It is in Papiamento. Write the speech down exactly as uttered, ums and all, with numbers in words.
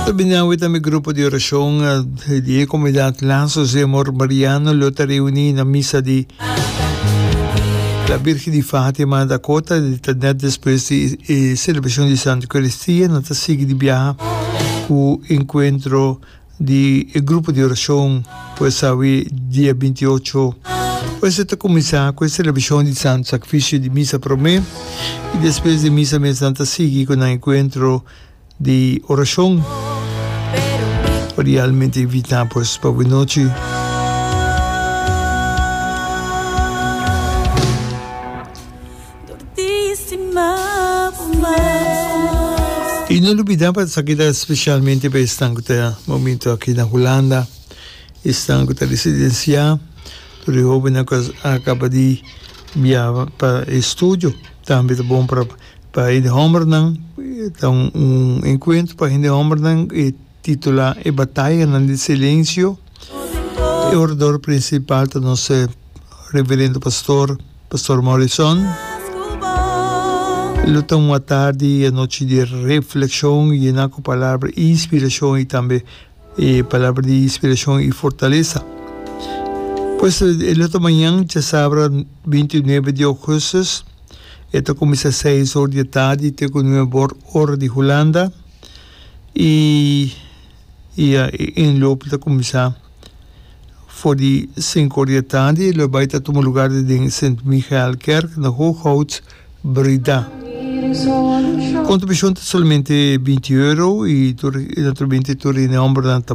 Tambe tambe grupo di orashon di komunidat Lazos de Amor Mariano lo ta reuní na misa di La Virgen di Fatima Dakota, net despues di e selebrashon di Santa Eukaristia, nan ta sigui di biaha ku enkuentro di grupo di orashon, pues awe dia binti ocho. Pues ta kuminsá ku e selebrashon di Santo Sakrifisio di misa promé i despues di misa mes nan ta sigui ku e enkuentro di orashon. Realmente invitá, pues, pa anochi. Durdísima. I no lubidá pa esaki ta spesialmente pa esnan ku ta momento aki na Hulanda, esnan ku ta residensiá, tur e hóbennan ku a kaba di biaha pa estudio, tambe ta bon pa pa hende hòmbernan, ta un, un enkuentro pa hende hòmbernan e titulá "E Batayanan di Silensio". E orador prinsipal ta nos reverendo pastor, Pastor Morrison. Lo ta un atardi i anochi di reflekshon i ku palabra di inspirashon i tambe e palabra di inspirashon i fortalesa. Pues e otro mañan, djasabra bintinuebe di ougùstùs, ta kuminsá seis or di atardi te ku nuebe or di Hulanda i i e inloop ta kuminsá for di sinku or di atardi, lo bai ta tuma lugá den Sint Michaelkerk na Hooghout, Breda. Kontribushon ta solamente binti euro i tur, naturalmente tur hòmber ta